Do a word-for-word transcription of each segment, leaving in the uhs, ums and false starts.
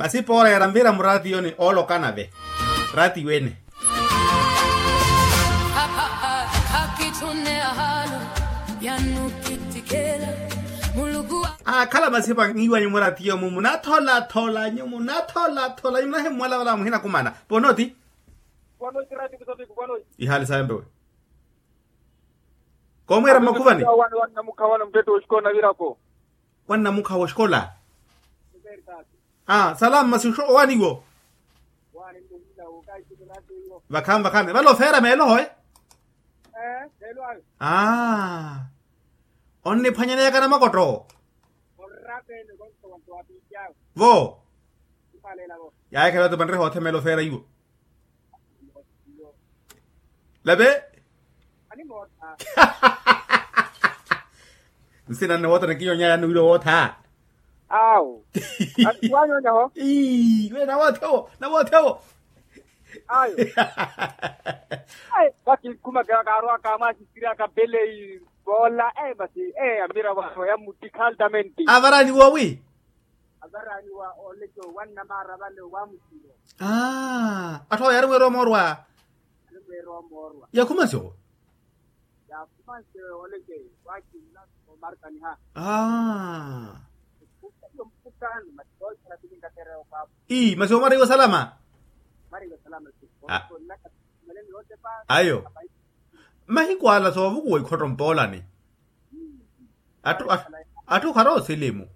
Asipoora yaranvira muraatiyoni oolokanave. Raatiyo ene. Aakhala masipa ngiwanyu muraatiyo mu munatholathola nyu munatholathola nyu munahimmwala vala muhinakumana. Ponoti. Ihaali sawe mpewe. Koomweera mmakhuvani. Wannamukha wala muttetti woxikola navirako. Wannamukha woxikola. Aa salama masi owaaniwo. Vakhaani vakhaani vale ofeera meelo hoe. Aa. Onniphwanyaneyaka namakotto. Vo. Yaaye khela tupanreha othemela ofeera iwo. Lave. Nsina nne wootha ni kinyonyaya ni wira wootha. Awo. Wanyoonyaho. Ii we nawoothewo nawoothewo. Ayo. Vakikhuma kaarwaka mwaasisirya kapelei. Voola masi amira vano yamuttikha altamenti. Avaraani woowi. Avaraani wa oleke wannamaara vale wa musiro. Atthu awo yaari mweera omoorwa. Yakhuma nsi owo. Yakhuma nsi oleke. Wakiila omarkaniha. Ii masi omariwa salama. Ayo. Mahiku ala soovukuwa ikhotto mpoolani. Atthu atthu kharoosilimu.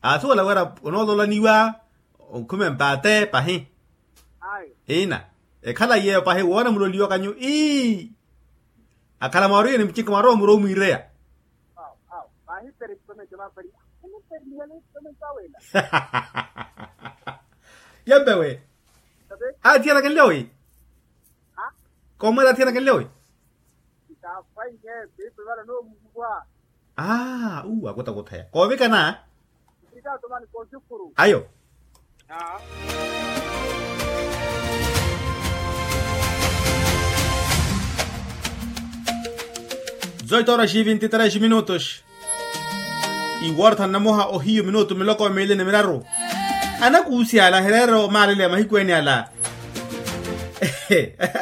Aasuwela wira onoololaniwa. Okhume mpaate pahi. Ina. Ekhala yeeyo pahi woona muloliwaka nyu ii. Akhala mwaariyeni mucikha mwarowa muro omwiireya. Yampewe. Athiyanakenle owi. Koomwela athiyanakenle owi. Aa uwa kutakuthaya koovikana. Ayo. Zoito horas e vinte e três minutos. Iwortha nnamuha ohiyu minutu miloko miili ni miraru. Anakuusi ala ahireerya omaaleleya mahiku ene ala.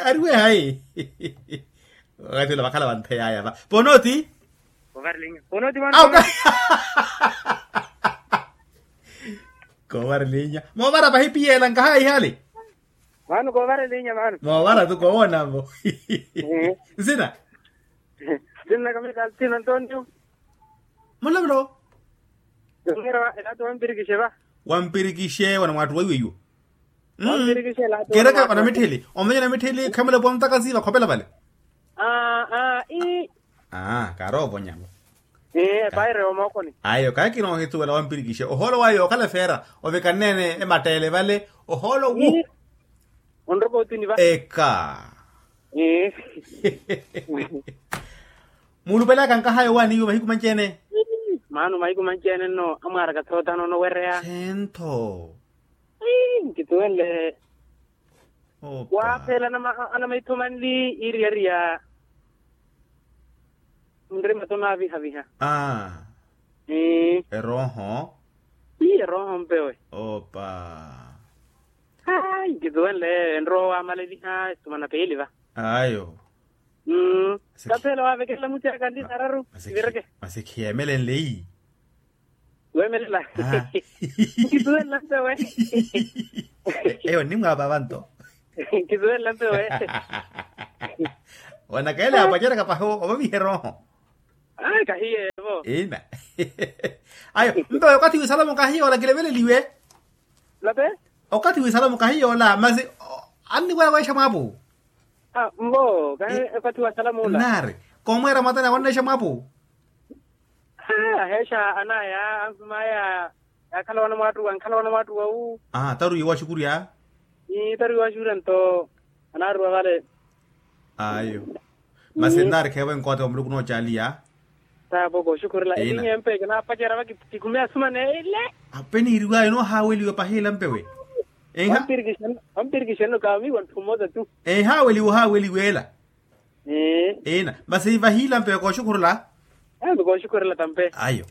Ariwe hayi. Wakati ula vakhala vantheyaya va ponoti. Kovarilinya ponoti mwana. Kovarilinya. Moovara vahipiyeela nkahayi ihali. Mano kovarilinya mano moovara tu kowoonavo. Nsina. Nsina kamita altino antonio. Mulavula. Ela tu wampirikixe va. Wampirikixe wana mwaattu weiwe iwo. Kereka wana mitthili omenya na mitthili khamela pwa mutaka siiva khopela vale. Aa aa ii. Aa kaaroovonyavo. Ee paire omookoni. Ayo kaakina ohituwela wampirikixe ohoolo wayo okhala efeera ovikanneene ematteele vale. Ohoolo wu. Onroka otuni va. Eka. Ee. Muulupelaka nkahayi owaaniwe mahiku manci-ene. Maano mahiku manci-ene nno amwaaraka thootano onowereya. Sentho. Nkituwenle. Waaphela anamaitho manli iiriyariya. Nrima tonaavihaviha. Aa. Erooho. Ii erooho mpewe. Opa. Ai nkituwenle enrowa waamaleliha esumana peeli va. Ayo. Mmm. Kapeela waavekelela muti aka nti sararu. Masi khiyeemelenle ii. Weemelela. Nkituwenla mpewe. Eyo nnimwaapa vanto. Nkituwenla mpewe. Wanakaele apaceraka pahi ovaviha erooho. Ai kahiyeevo. Ina. Ayo mpewe okathi wisalamu kahiye ola kileveleliwe. Okathi wisalamu kahiye ola masi anniwewexa mwaapu. Mvo kahi okathi wasalamu ola. Naari. Koomweera mwatani awannexa mwaapu. Aheexa anaya ansumaya. Yaakhala wana mwaattuwa ankhala wana mwaattuwa wu. Taruwiwa waxukurya. Taruwiwa waxukurya nto. Anaaruwa vale. Ayo. Masi nnaarikheevo enkoote wa muluku noocaaliya. Taapoko oxukhurela elinye mpe kinaapacerya va kikhume asumana ele. Ape niiriwayo noohaaweliwa pahiila mpewe. Wampirikixenno kaamiwa nthu mmosa tu. Enhaaweliwa ohaaweliwa ela. Ina masi vahiila mpewe kooxukhurela. Mpe kooxukhurela tampe. Ayo.